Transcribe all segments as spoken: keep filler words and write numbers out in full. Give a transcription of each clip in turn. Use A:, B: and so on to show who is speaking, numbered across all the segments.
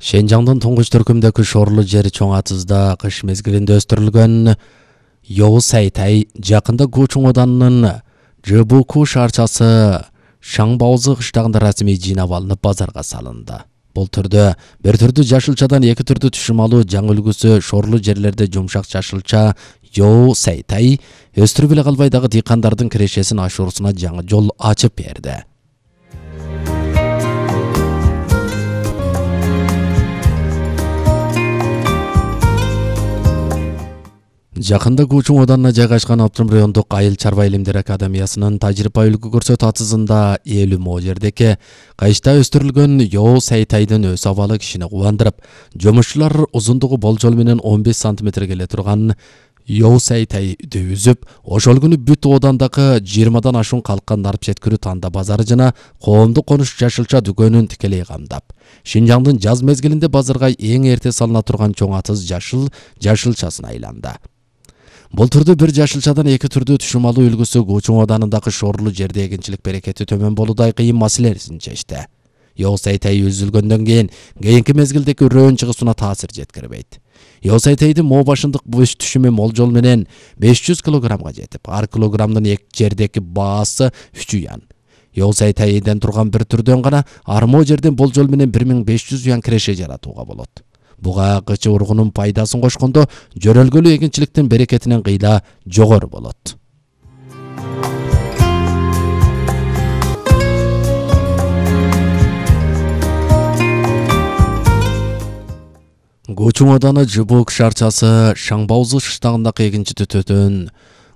A: Шенжаңдын туңгуч түркүмдөгү шорлуу жери чоң атызда кыш мезгилинде өстүрүлгөн Йоусайтай жакында Гучун оданынын Жыбуку шаарчасы Шаңбаузы кыштагында расмий жыйнап алынып базарга салынды. Бул түрдө бир түрдүү жашылчадан эки түрдүү түшүм алуу жаңы үлгүсү шорлуу жерлерде жумшак жашылча Йоусайтай өстүрүп эле калбай дагы дыйкандардын кирешесин ашуусуна жаңы жол ачып берди. Жакында Гучун оданына жайгашкан Оптум райондук айыл чарба илимдер академиясынын тажрыйба үлгү көрсөтүү атызында элүү мо жердеки кайышта өстүрүлгөн Йоусайтайдын өс абалы кишини кубандырып, жумушчулар узундугу болжол менен он беш сантиметр келе турган Йоусайтайды үзүп, ошол күнү бүт одандагы жыйырмадан ашуун калкка нарп жеткирүү танда базары жана коомдук конуш жашылча дүкөнүн тикелей камдап, Шинжаңдын жаз мезгилинде базарга эң эрте салына турган чоң атыз жашыл жашылчасына айланды. Бул түрдө бир жашылчадан эки түрдүү түшүм алуу үлгүсү Гучун оданындагы шорлуу жерде эгинчилик берекети төмөн болуудай кыйын маселесин чечти. Йоусайтай үзүлгөндөн кийин кийинки мезгилдеки үрөөн чыгысына таасир жеткирбейт. Йоусайтайдын мо башындык бүш түшүмү молжол менен беш жүз килограммга жетип, ар килограммдын эки жердеки баасы үч юан. Йоусайтайден турган бир түрдөн гана ар мо жерден болжол менен бир миң беш жүз юан киреше жаратууга болот. Буга кычы ургунун пайдасын кошкондо жөрөлгөлүү эгинчиликтин берекетинен кыйла жогору болот. Гучун оданы Жыбук шаарчасы Шаңбаузы кыштагындагы эгинчи түтөтөн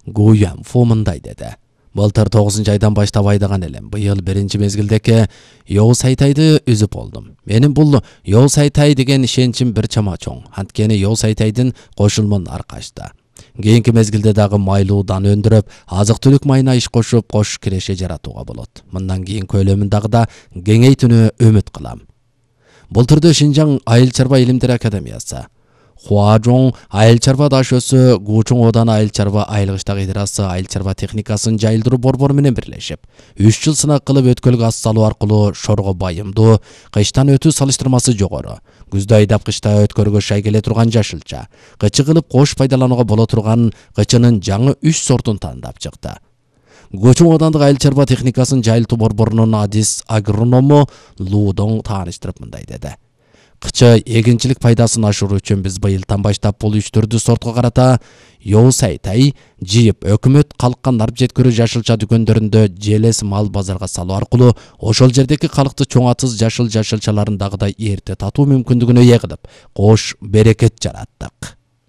A: Гуянфу мындай деди. Былтыр тогузунчу айдан баштап айдаган элем. Быйыл биринчи мезгилдеки Йоусайтайды үзүп болдум. Менин бул Йоусайтай деген ишеничим бир чама чоң. Анткени Йоусайтайдын кошулмун аркачта. Кийинки мезгилде дагы майлуудан өндүрүп, азык-түлүк майына иш кошуп, кош киреше жаратууга болот. Мындан кийин көлөмүн дагы да кеңейтүүнү үмүт кылам. Бул түрдө Шинжаң айыл чарба илимдер академиясы, Хуажоң айыл чарба дашөсү, Гучун оданы айыл чарба айылгычтак идарасы айыл чарба техникасын жайылдыруу борбору менен бирлешип, үч жыл сынак кылып өткөлгө ас салуу аркылуу шорго байымдуу, кыштан өтүү салыштырмасы жогору, күздө айдап кышта өткөргө шай келе турган жашылча, кычы кылып кош пайдаланууга боло турган кычынын жаңы үч сортун тандап чыкты. Гучун одандык айыл чарба техникасын жайылтуу борборунун адис агроному Луудоң тааныштырып мындай деди. Кычы эгинчилик пайдасын ашыруу үчүн биз быйылдан баштап бул үч түрдүү сортко карата Йоусайтай жыйып, өкмөт калкка нарп жеткирүү жашылча дүкөндөрүндө желес мал базарга салуу аркылуу ошол жердеки калкты чоң атыз жашыл жашылчаларын дагы да эрте татуу мүмкүндүгүнө ээ кылып, кош берекет жараттык.